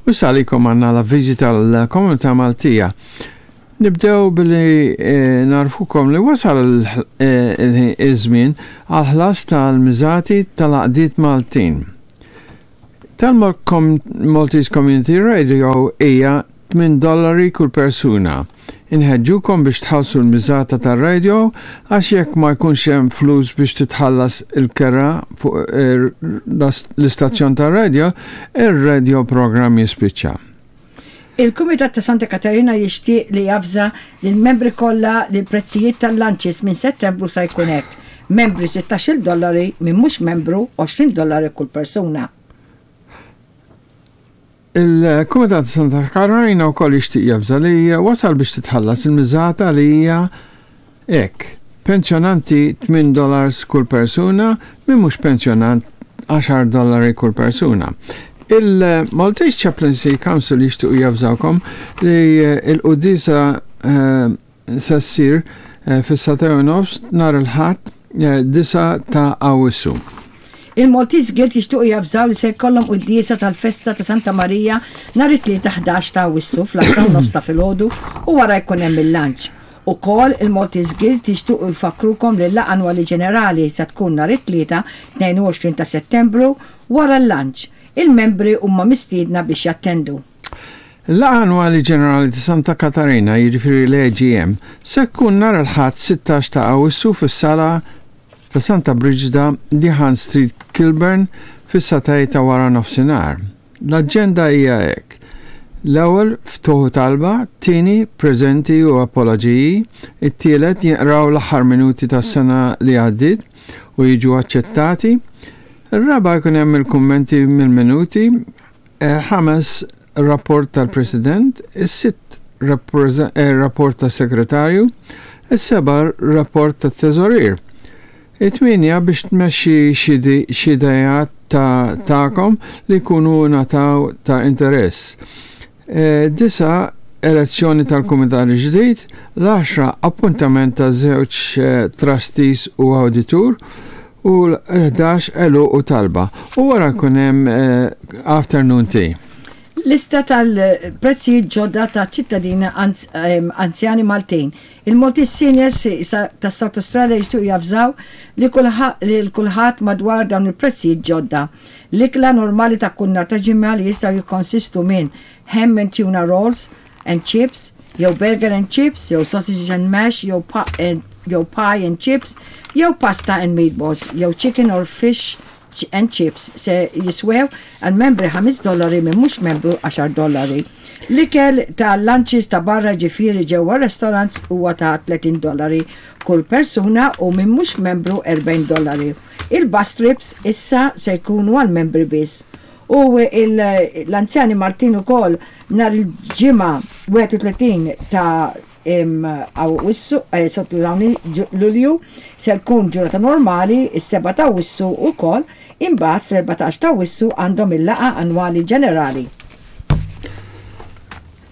U issa għalikom għandna l-avviżi tal-Komunità Maltija. Nibdew billi eh, narfukom li wasal eh, iż-żmien għal-ħlas tal-miżati tal-għaqdiet Maltin. Tal-Maltese Community Radio hija 8 dollari kull persuna. Inħeġġukom biex tħallsu l-miżata tar-radio għax jekk ma jkunx hemm flus biex titħallas il-kera fuq eh, l-istazzjon tar-radio, ir-radio program jispiċċa. Il-Kumitat ta' Santa Katarina jixtieq li javża lill-membri kollha li l-prezzijiet tal-lunches minn Settembru sa jkun hekk. Membri 16 dollari, min mhux membru 20 dollari kull persuna. Il-Kumitat ta' Santa Katarina wkoll jixtieq javża li wasal biex titħallas il-miżata li hija hekk. Pensjonanti 8 dollars kull persuna, min mhux pensjonant 10 dollari kull persuna. Il-Maltese Chaplaincy Council jixtiequ javżawkom li l-quddiesa eh, se ssir eh, fis-sagħtejn u nofs nhar il-Ħadd 9 eh, ta' Awwissu. Il-Maltese Guild jixtiequ javżaw li se jkollhom quddiesa tal-festa ta' Santa Marija nhar it-Tlieta 11 ta' Awwissu fl-10 u nofs ta' filgħodu u wara jkun hemm il-lunch. Ukoll il-Maltese Guild jixtiequ jfakkrukom li l-laqgħa annwali ġenerali se tkun nhar it-Tlieta 22 ta' Settembru wara l-lunch. Il-membri huma mistiedna biex jattendu. Il-Laqgħa Annwali Ġenerali ta' Santa Katarina, jiġifieri l-AGM, se tkun nhar il-Ħadd 16 ta' Awwissu fis-Sala ta' Santa Briġida, Dihan Street, Kilburn, fis-sagħtej ta' wara nofsinhar. L-aġenda hija hekk, l-ewwel ftuħ u talba, t-tieni preżenti u apoloġiji, it-tielet jinqraw l-aħħar minuti tas-sena li għaddiet u jiġu aċċettati, ir-raba' jkun hemm il-kummenti mill-minuti, Ħames rapport tal-President, is-sitt rapport tas-Segretarju, is-seba' rapport tat-Teżorier. It-tmienja biex tmexxi xi ideat ta' tagħkom li jkunu ngħataw ta' interess. Disa' elezzjoni tal-kumitat il-ġdid, l-għaxra appuntament ta' żewġ trustees u awditur u l-11 għeluq u talba. U wara jkun hemm afternoon tea. Lista tal-prezzijiet ġodda ta' ċittadini anzjani Maltin. Il-Maltese Seniors ta' South Australia jixtiequ javżaw li kulħadd madwar dawn il-prezzijiet ġodda. L-ikla normali ta' kull nhar ta' ġimgħa li jistgħu jikkonsistu minn ham and tuna rolls and chips, jew burger and chips, jew sausages and mash, jew jew pie and chips, jew pasta and meatballs, jew chicken or fish and chips se jiswew għal membri 5 dollari minn mhux membru 10 dollari. L-ikel ta' lunches ta' barra ġifieri ġewwa restaurants huwa ta' 30 dollari kull persuna u minn mhux membru 40 dollari. Il-bus trips issa se jkunu għal membri biss. U l-anzjani Maltin ukoll nhar il-Ġimgħa 31 ta' Awwissu, eh, skużawni, Lulju, se jkun ġurnata normali, is-7 ta' Awwissu ukoll, imbagħad fl-14 ta' Awwissu għandhom il-laqgħa annwali ġenerali.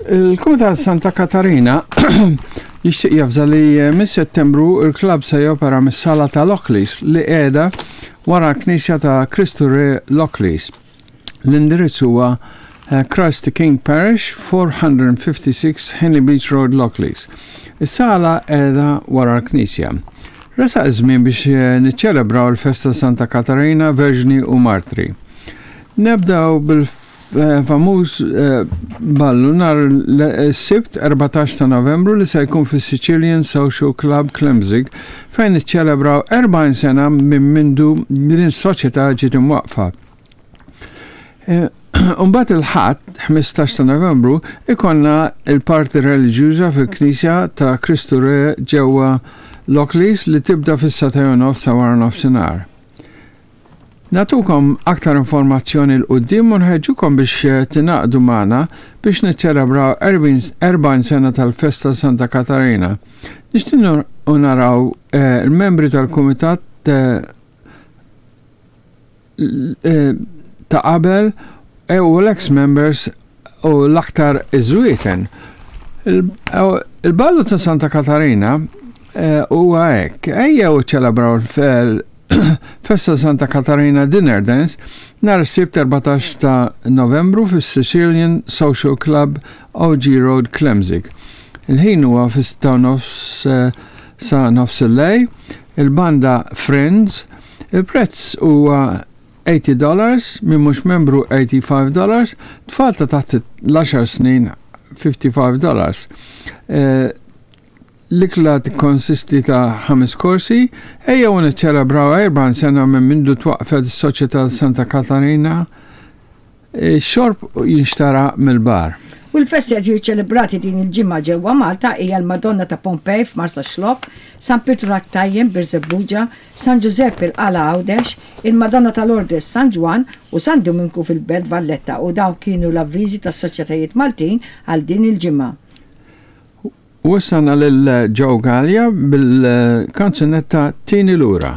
Il-Kumitat Santa Katarina jixtieq javża li eh, minn Settembru il-klabb se jopera mis-sala ta' Lockleys li qiegħda wara l-Knisja ta' Kristu Re Lockleys. L-indirizz huwa eh, Christ the King Parish, 456 Henley Beach Road, Lockleys. Is-sala qiegħda wara l-Knisja. Resaq iż-żmien biex eh, niċċelebraw il-festa Santa Katarina, Verġni u Martri. Nebdaw bil Famuż ballu nhar is-Sibt 14 ta' Novembru li se jkun fis-Sicilian Social Club Klemzig fejn iċċelebraw 40 sena minn mindu din is-soċjetà ġiet imwaqqfa. Imbagħad il-Ħadd 15 ta' Novembru ikollna l-parti reliġjuża fil-Knisja ta' Kristu Re ġewwa Lockleys li tibda fis-sagħtejn u nofs ta' waranofsinhar. Nagħtukom aktar informazzjoni 'l quddiem u nħeġġukom biex tingħaqdu magħna biex niċċelebraw 40 sena tal-festa Santa Katarina. Nixtiequ naraw eh, il-membri tal-kumitat eh, eh, ta' qabel u l-ex members u l-aktar iż-żwieten. Il-ballu ta' Santa Katarina huwa hekk, ejjew ċelebraw Festa Santa Katarina Dinner Dance nhar is-Sibt 14 ta' Novembru fis-Sicilian Social Club OG Road Klemzig. Il-ħin huwa fis-sitta u nofs eh, sa nofs il-lej, il-banda Friends, il-prezz huwa 80 dollars, min mhux membru 85 dollars, tfal ta' taħt l-10 snin 55 dollars. Eh, L-ikla tikkonsisti ta' ħames korsi, ejjew niċċelebraw 40 sena minn mindu twaqqfet is-Soċjetà Santa Katarina. Ix-xorb jinxtara mill-bar. U l-festi qed jiġu ċċelebrati din il-ġimgħa ġewwa Malta hija l-Madonna ta' Pompej f'Marsaxlokk, San Pietru tal-Ktajjen, Birżebbuġa, San Ġużepp il-Qala Għawdex, il-Madonna ta' Lourdes San Ġwann u San Duminku fil-Belt Valletta u dawn kienu l-avviżi tas-soċjetajiet Maltin għal din il-ġimgħa. U issa għandna lil Joe Galea bil-kanzunetta Tini Lura.